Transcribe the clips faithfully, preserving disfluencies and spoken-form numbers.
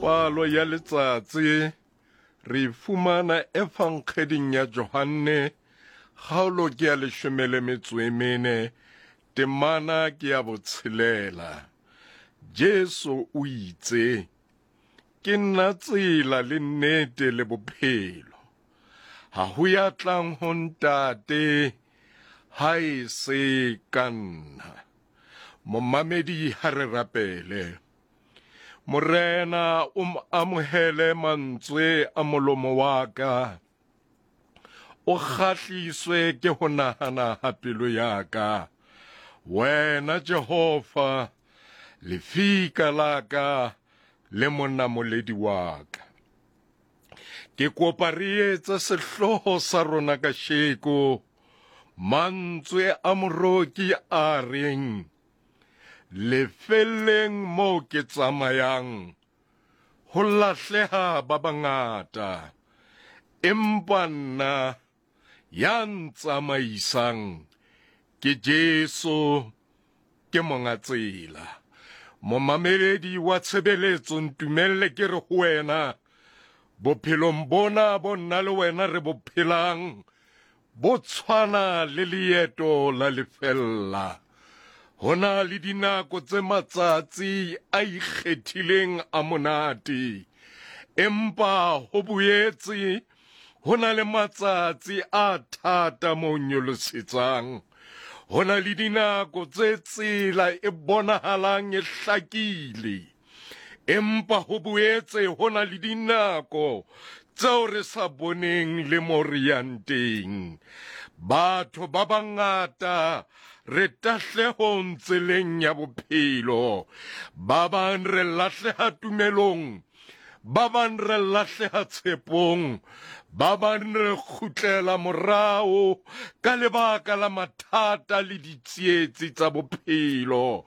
Palo ya letsatsi re e fumana Evankgeding ya Johanne, kgaolo ke ya leshome le metso e mene, temana ke ya botshelela. Jesu o itse, Ke nna tsela le nnete le bophelo. Ha ho ya tlang ho Ntate ha e se ka nna. Momamedi, ha re rapele. Morena, o amohele mantswe a molomo wa ka. O kgahliswe ke ho nahana ha pelo ya ka. Wena Jehova, lefika la ka le monamoledi wa ka. Ke kopa re etse sehlooho sa rona kasheko, mantswe a moroki a reng, Lefelleng moo ke tsamayang, ho lahleha ba bangata, empa nna ya ntsamaisang ke Jesu, ke monga tsela. Momameledi wa tshebeletso, ntumelle ke re ho wena, bophelong bona bo nna le wena re bo phelang, bo tshwana le leeto la lefella. Ho na le dinako tse matsatsi a ikgethileng a monate, empa ho boetse ho na le matsatsi a thata mo nyolosetsang. Ho na le dinako tse tsela e bonahalang e hlakile, empa ho boetse ho na le dinako tseo re sa boneng le mo re yang teng. Batho ba bangata re tahlehong tseleng ya bophelo. Ba bang re lahleha tumelong, ba bang re lahleha tshepong, ba bang re kgutlela morao ka lebaka la mathata le ditsietsi tsa bophelo.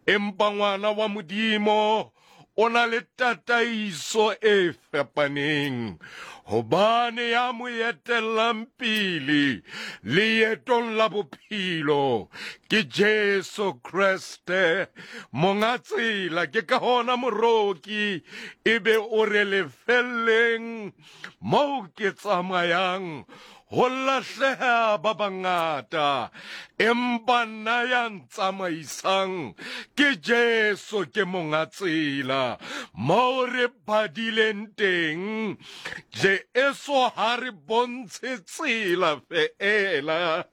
Empa ngwana wa Modimo o na le tataiso e fapaneng, hobane ya mo etellang pele leetong la bophelo ke Jesu Kreste, monga tsela. Ke ka hona moroki ebe o re, lefelleng moo ke tsamayang ho lahleha ba bangata, empa nna ya ntsamaisang ke Jesu, ke monga tsela. Moo re badileng teng, Jesu ha re bontshe tsela feela,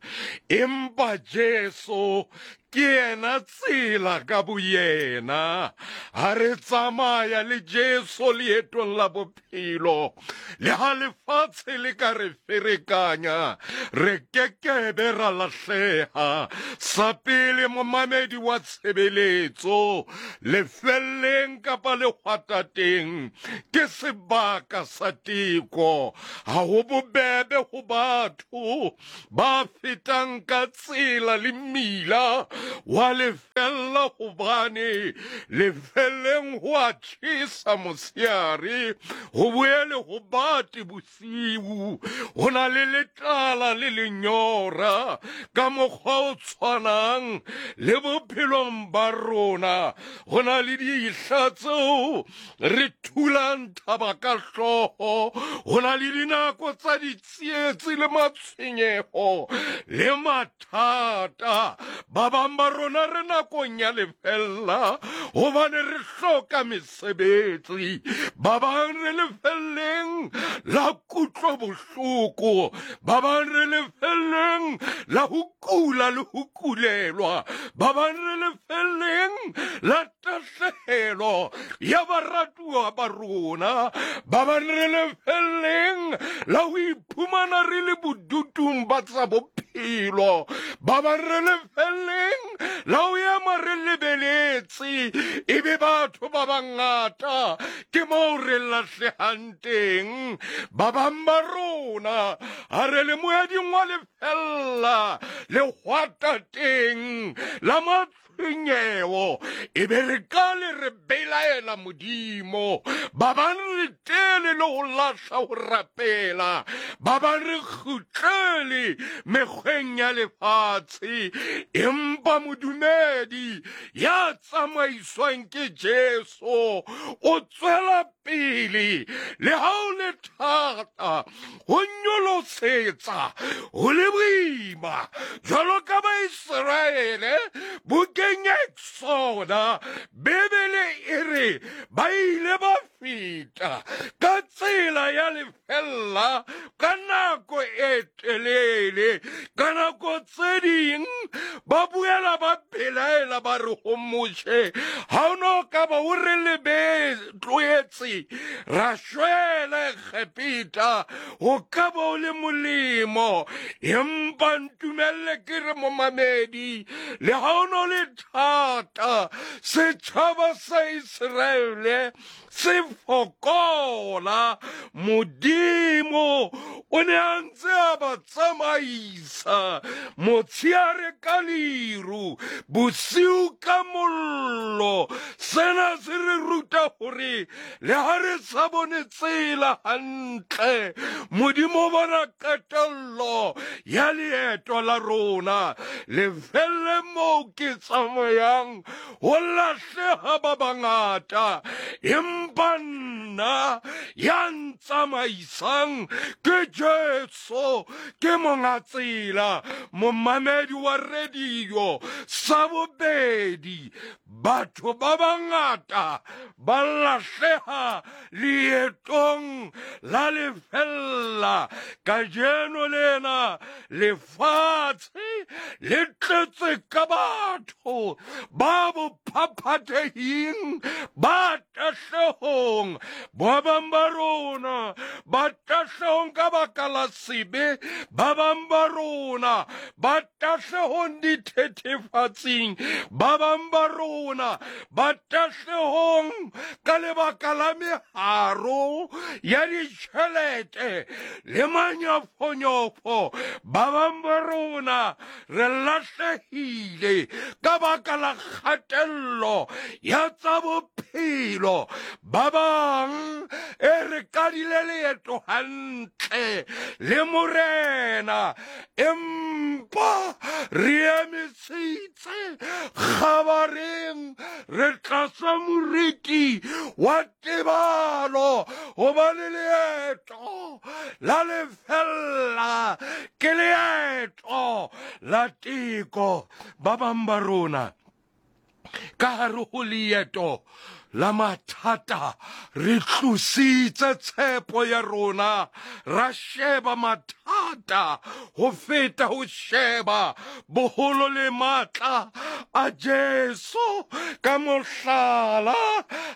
empa Jesu ke yena tsela ka boyena. Ha re tsamaya le Jesu leetong la bophelo, le ha lefatshe le ka re ferekanya, re kekebe ra lahleha. Sa pele, momamedi wa tshebeletso, lefelleng kapa lehwatateng ke sebaka sa teko. Ha ho bobebe ho batho ba fetang ka tsela le mmila wa lefella, hobane lefelleng ho a tjhesa motshehare, ho boele ho bate bosiu, ho na le letlala le lenyora. Ka mokgwa o tshwanang le bophelong ba rona, ho na le dihla tseo re thulang thaba ka hlooho, ho na le dinako tsa ditsietsi le matshwenyeho le mathata. Ba bang ba rona re nakong ya lefella hobane re hloka mesebetsi, ba bang re lefelleng la kutlo bohloko, ba bang re lefelleng la ho kula le ho kulelwa, ba bang re lefelleng la tahlehelo ya baratuwa ba rona, ba bang re lefelleng la ho iphumana re le bodutung ba tsa bophelo, ba bang re lefelleng la ho ema re lebeletse ebe batho ba bangata ke moo re lahlehang teng. Ba bang ba rona ha re le moeding wa lefella lehwatateng la matshwenyeho, ebe re ka le re belaela Modimo. Ba bang re tele le ho lahla ho rapela, ba bang re kgutlele mekgweng ya lefatshe. Empa modumedi ya tsamaiswang ke Jesu o tswela pele le ha o le thata, ho nyolosetsa ho le boima. Jwalo ka Baiseraele bukeng ya Exoda, Bibele e re ba ile ba feta ka tsela ya lefella ka nako e telele. Ka nako tse ding ba boela ba belaela, ba re ho Moshe, ha o no ka ba o re lebe tlohetse ra shwela Egepeta, ho ka ba o le molemo. Empa ntumelle ke re momamedi, le ha o no le thata, setjhaba sa Iseraele se fokola, Modimo o ne a ntse a ba tsamaisa motsheare ka leru, bosiu ka mollo. Sena se re ruta hore le ha re sa bone tsela hantle, Modimo o bona qetello ya leeto la rona. Lefelle moo ke tsamayang ho lahleha ba bangata, empa nna ya ntsamaisang ke Jesu, ke monga tsela. Momamedi wa radio, sa bobedi, batho ba bangata ba lahleha leetong la lefella. Kajeno lena lefatshe le tletse ka batho ba bophaphathehing, ba tahlehong. Ba bang ba rona ba tahlehong ka baka la sebe, ba bang ba rona ba tahlehong dithethefatsing, ba bang ba rona ba tahlehong ka lebaka la meharo ya ditjhelete le manyofonyofo. Ba bang ba rona re lahlehile ka baka la kgatello ya tsa bophelo. Ba bang e re kadile leeto hantle le Morena, empa re emisitse kgabareng, re tlasa moriti wa tebalo, hobane leeto la lefella ke leeto la teko. Ba bang ba rona ka hare ho leeto la mathata re tlositse tshepo ya rona, ra sheba mathata ho feta ho sheba boholo le matla a Jesu. Ka mohlala,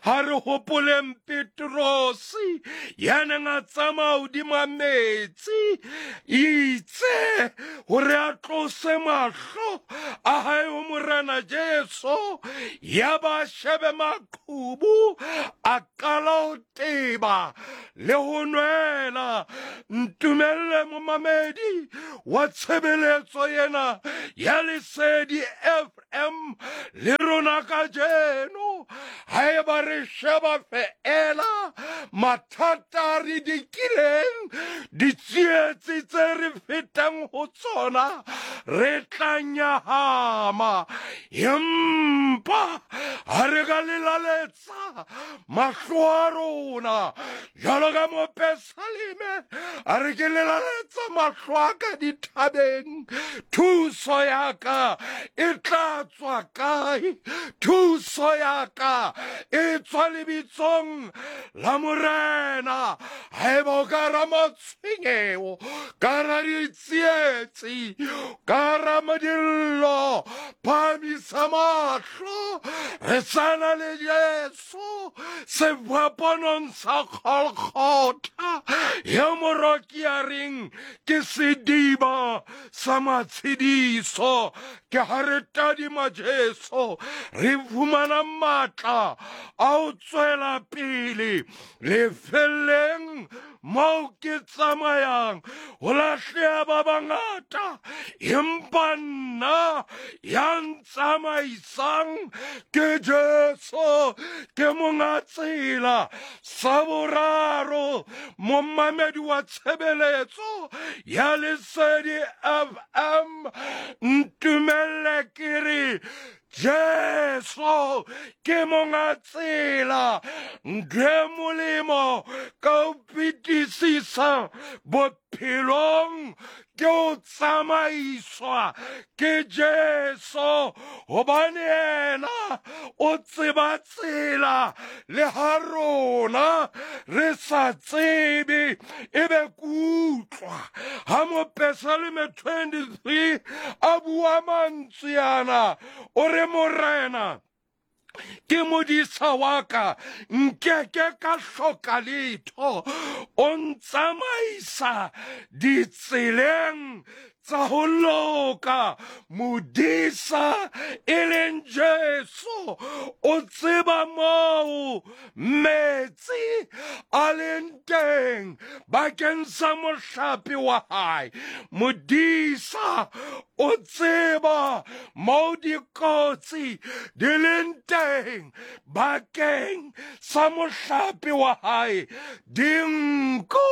ha re hopoleng Petrosi ya neng a tsamaya hodima metsi, itse hore a tlose mahlo a hae ho Morena Jesu, ya ba shebe maqhubu, a qala ho teba le ho nwela. Ntumelle momamedi wa tshebeletso ena ya Lesedi F M le rona kajeno, haeba re sheba feela mathata a re dikileng, ditsietsi tse re fetang ho tsona, re tla nyahama. Empa ha re ka lelaletsa mahlo a rona jwalo ka mopesaleme, a re ke lelaletsa mahlo a ka dithabeng, thuso ya ka e tla tswa kae? Thuso ya ka e tswa lebitsong la Morena. Haeba o ka ra matshwenyeho, ka ra ditsietsi, ka ra modillo, phahamisa mahlo, re sana le Jesu sefapanong sa Golgotha, ya moroki a reng ke sediba sa matshediso. Ke ha re tadima Jesu, re fumana matla a ho tswela pele lefelleng moo ke tsamayang ho lahleha ba bangata, empa nna ya ntsamaisang ke Jesu, ke monga tsela. Sa boraro, momamedi wa tshebeletso ya Lesedi F M, ntumelle ke re Jesu ke monga tsela. Ntho e molemo ka ho fetisisa bophelong ke ho tsamaiswa ke Jesu, hobane yena o tseba tsela le ha rona re sa tsebe. Ebe kutlwa ha Mopesaleme twenty-three a bua mantswe ana, o re Morena ke modisa wa ka, nkeke ka hloka letho, o ntsamaisa ditseleng tsa ho loka. Modisa e leng Jesu o tseba moo metsi a leng teng bakeng sa mohlape wa hae. Modisa o tseba moo dikotsi di leng teng bakeng sa mohlape wa hae. Dinku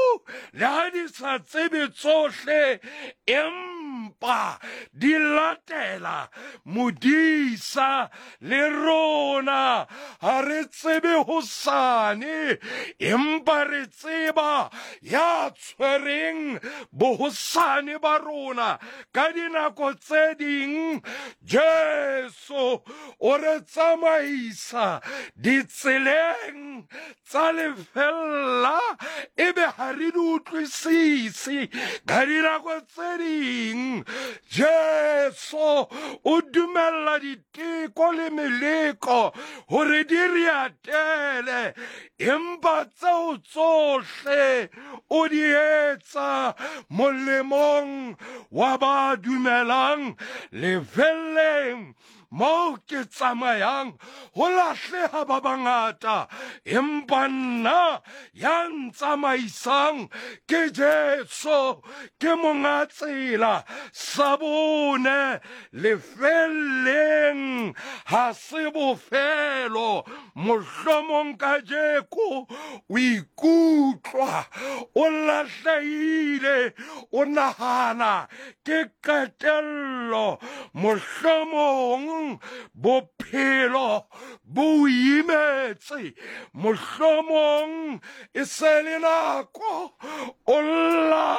le ha di sa tsebe tsohle, empa di latela modisa. Le rona ha re tsebe hosane, empa re tseba ya tshwereng bohosane ba rona. Ka dinako tse ding Jesu o re tsamaisa ditseleng tsa lefella, ebe ha re di utlwisise. Ka dinako tse ding Jesu o dumella diteko le meleko hore di re atele, empa tseo tsohle o di etsa molemong wa ba dumelang. Lefelleng moo ke tsamayang ho lahleha ba bangata, empa nna ya ntsamaisang ke Jesu, ke monga tsela. Sa bone, lefelleng ha se bofelo. Mohlomong kajeko o ikutlwa o lahlehile, o nahana ke qetello. Mohlomong bophelo bo imetse, mohlomong e se le nako o lla,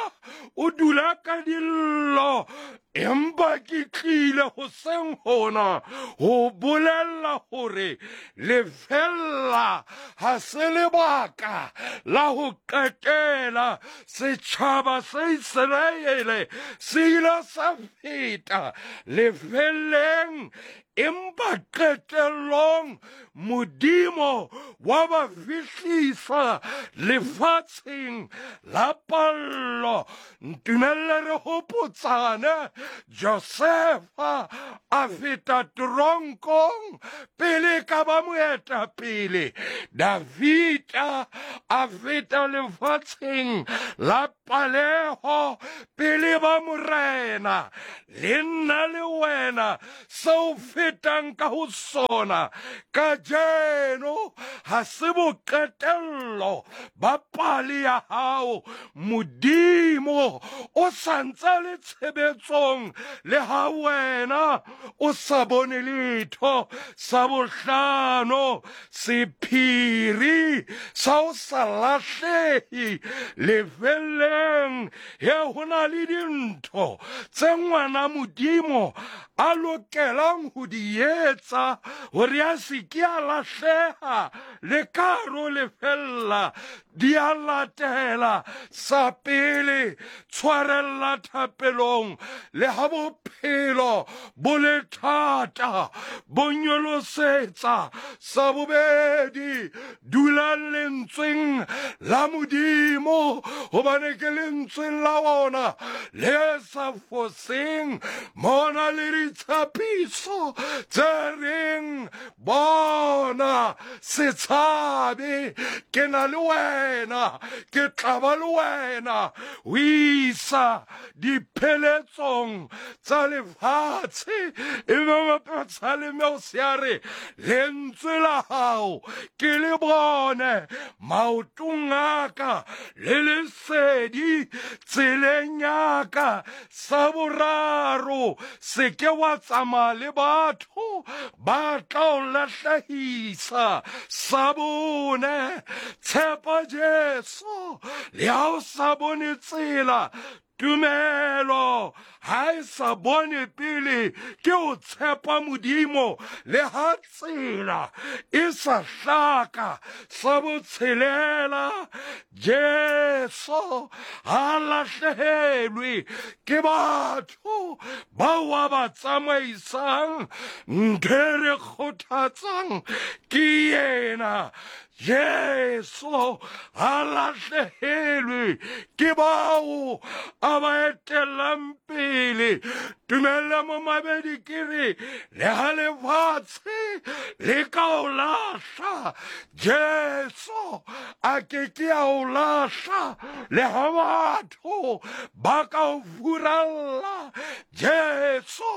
o dula ka dillo, empa ke tlile hoseng hona ho bolella hore lefella ha se lebaka la ho qetela. Setjhaba sa Iseraele se ile sa feta lefelleng, empa qetellong Modimo wa ba fihlisa lefatsheng la pallo. Ntumelle re hopotsane, Josefa a feta teronkong pele ka ba moetapele. Davida a feta lefatsheng la paleho pele ba morena. Le nna le wena seo fetang ka ho sona kajeno ha se boqetello ba pale ya hao. Modimo o sa ntse le tshebetsong le ha wena o sa bone letho. Sa bohlano, sephiri sa o sa lahlehe lefelleng. He ho na le dintho tse ngwana Modimo a lokelang ho di etsa hore a se ke a lahleha le karo lefella. Di a latela. Sa pele, tshwarella thapelong le ha bophelo bo le thata, bo nyolosetsa. Sa bobedi, dula lentsweng la Modimo, hobane ke lentsweng la ona le sa foseng. Mona le ditshepiso tse reng, bona se tshabe, ke na le wena, ke tla ba le wena ho isa dipheletsong tsa lefatshe. Ebe Mopesaleme o se a re, lentswe la hao ke le bone maotong a ka le lesedi tseleng ya ka. Sa boraro, se ke wa tsamaya le batho ba tla o lahlehisa. Sa bone, tshepa Jesu le ha o sa bone tsela. Tumelo ha e sa bone pele ke o tshepa Modimo le ha tsela e sa hlaka. Sa botshelela, Jesu ha lahlehelwe ke batho bao a ba tsamaisang. Ntho e re kgothatsang ke yena. Jesu ha lahlehelwe ke bao a ba etellang pele. Tumella momamedi ke re, le ha lefatshe le ka o lahla, Jesu a ke ke a o lahla. Le ha batho ba ka o furalla, Jesu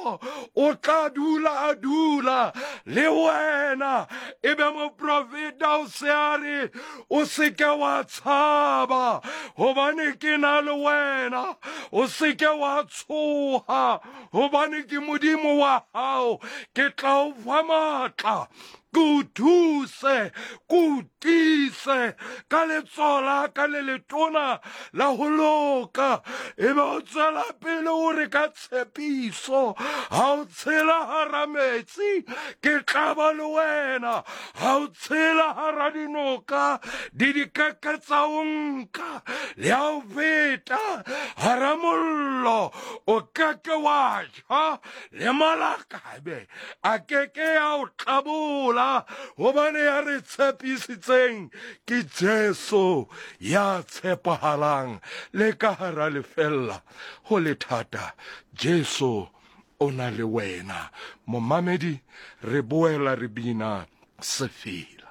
o tla dula a dula le wena. Ebe moprofeta o se a re, o se ke wa tshaba, hobane ke na le wena. O se ke wa tshoha, hobane ke Modimo wa hao. Ke tla o fa matla, ke o thuse, ke o tiise ka letsoho la ka le letona la ho loka. Ebe o tswela pele o re ka tshepiso, ha o tshela hara metsi, ke tla ba le wena. Ha o tshela hara dinoka, di dikeke tsa o nka. Le ha o feta hara mollo, o keke wa tjha, le malakabe a keke a o tlabola, hobane ya re tshepisitseng ke Jesu ya tshepahalang. Le ka hara lefella ho le thata, Jesu o na le wena. Momamedi, re boela re bina sefela.